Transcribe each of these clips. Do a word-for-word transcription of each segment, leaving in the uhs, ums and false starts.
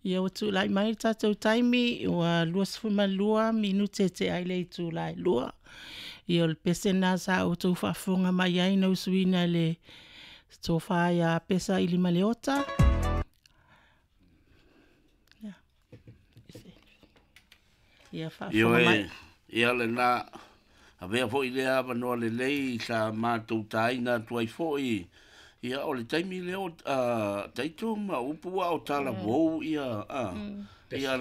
Ia ua tulai mai le tatou taimi ua luasefulumalua minute tea ai le itula e lua. Ia o le pese lena sa outou faafofoga mai ai na usuina e le tofa ia Pesa Ilimaleota. Ia faafofoga mai. Ioe, ia lena avea foi lea avanoa lelei sa matou taina atu ai foi. Ia o le taimi lea o taito ma upu ua o talavou ia a ia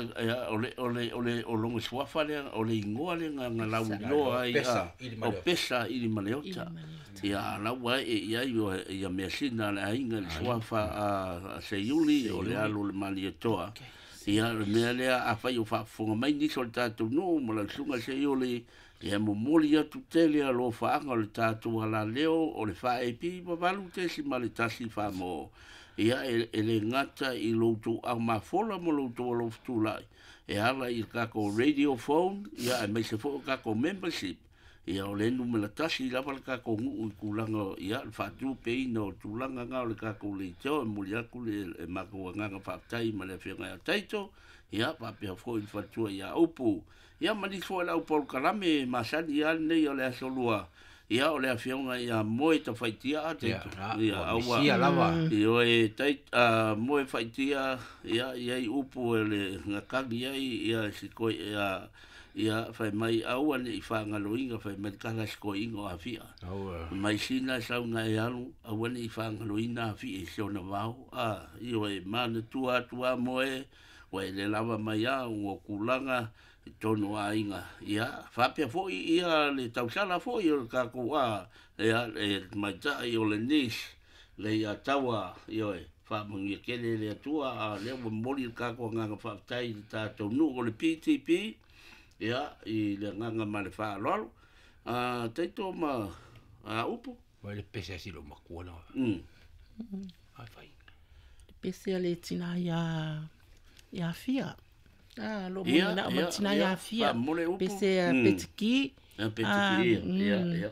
o le o le o le o logo suafa lea o le igoa lea na lauiloa ai a o Pesa Ilimaleota. Ia lau ai e ai o ia measina a le aiga i le suafa a Seiuli o le alo o le Malietoa. Ia le mea lea afai o faafofoga mai nisi o le tatou nuu ma lau susuga Seiuli, ia momoli atu tele alofaaga o le tatou alaleo o le faaep valu tesimale tasi faamoo. Ia e le gata i lo outou aumafola ma lo outou alofutulai e ala i le tatou radio phone, ia aemaise foi o tatou membership. Ia o le numera tasi lava le tatou nuu i tulaga ia le faatupeina o tulaga na o le tatou leitio. E momoli atu le matou agaga faafetai ma le afioga ia Taito, ia faapea foi le faletua ia Upu, ia ma nisi foi o le au polokalame masani lava lenei o le aso lua. Ia o le afioga ia Moe Tafaitia Taito, ia aua ioe tai Moe Faitia, ia iai upu e le gatagi ai ia siko'i ia ia fai mai aua ne'i faagaloina fai mai le tala sikoiina o Afia mai sina sauga e alu aua ne'i faagaloina Afia i si ona vao. A ioe manatua atu a Moe ua e le lava mai a ua tulaga i tonu o aiga. Ia faapea foi ia le tausala foi o le tatou a ia le tamaitai o le Nis le ia Taua, ioe faamanuia tele le Atua. A lea ua momoli le tatou agaga faafetai i le tatou nuu o le P T P, ia i le agaga ma le faaaloalo. A taito ma a upu vai le pese asi lo makua na. Mm. Ai fai. Le pese a le tina ia ia Fia. Ah, lo mo na o tina ia Fia. Pese a petiki. A petiki, ia, ia.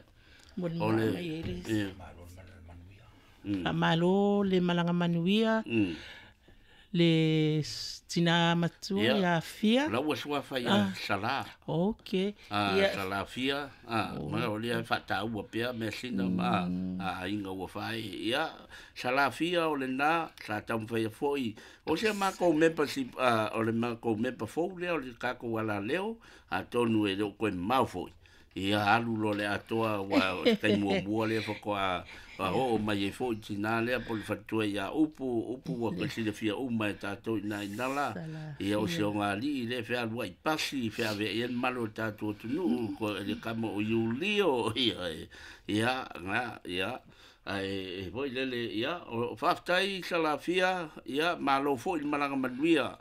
Mo le mai ele. Malo le malanga manuia. Le tina matua ia Fia. La ua suafa ia Sala. Ok. Ah, Sala Fia. Ah, ma o lea faataua pea measina ma a aiga ua fai. Ia Sala Fia o lena sa taumafai foi o se makou membership, o le makou member fou lea o le tatou alaleo atonu e le o koe mamao foi. Ia alu loa le atoa ua o se taimi muamua lea faatoa oo mai ai foi tinā lea po o le faletua ia Upu, Upu ua silafia uma e tatou i ina inala. Ia o si ogalii lea fealuai pasi feaveai ai le malu o le tatou atunuu le kama o Iulio. Ia ia na ia ae foi lele ia o faafetai Salafia, ia malo foi le malaga manuia.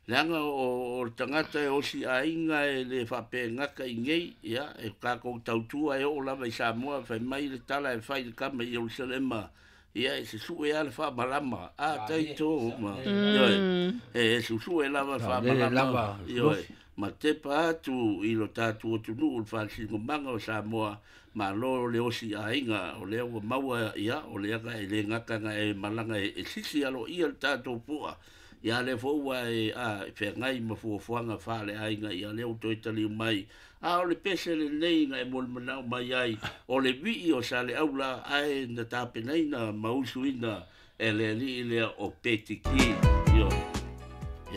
Leaga o le tagata e osi aiga e le faapegata i nei, ia e tatou tautua e oo lava i Samoa fai mai le tala e fai le kama i Ierusalema, ia e susue lava le faamalama a taito ma ioe e susue lava le faamalama ioe ma tepa atu i lo tatou atunuu le faasinomaga o Samoa. Malo le osi aiga o lea ua maua, ia o lea e le gata na e malaga e sisi aloaia le tatou pu'a. Ia lea foi ua e a feagai ma fuafuaga faaleaiga, ia lea ua toe taliu mai. A o le pese lenei na e molimau mai ai o le vii o Saleaula ae na tapenaina ma usuina e le alii lea o Petiki. Ioe.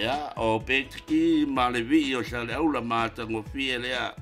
Ia o Petiki ma le vii o Saleaula ma atagofie lea.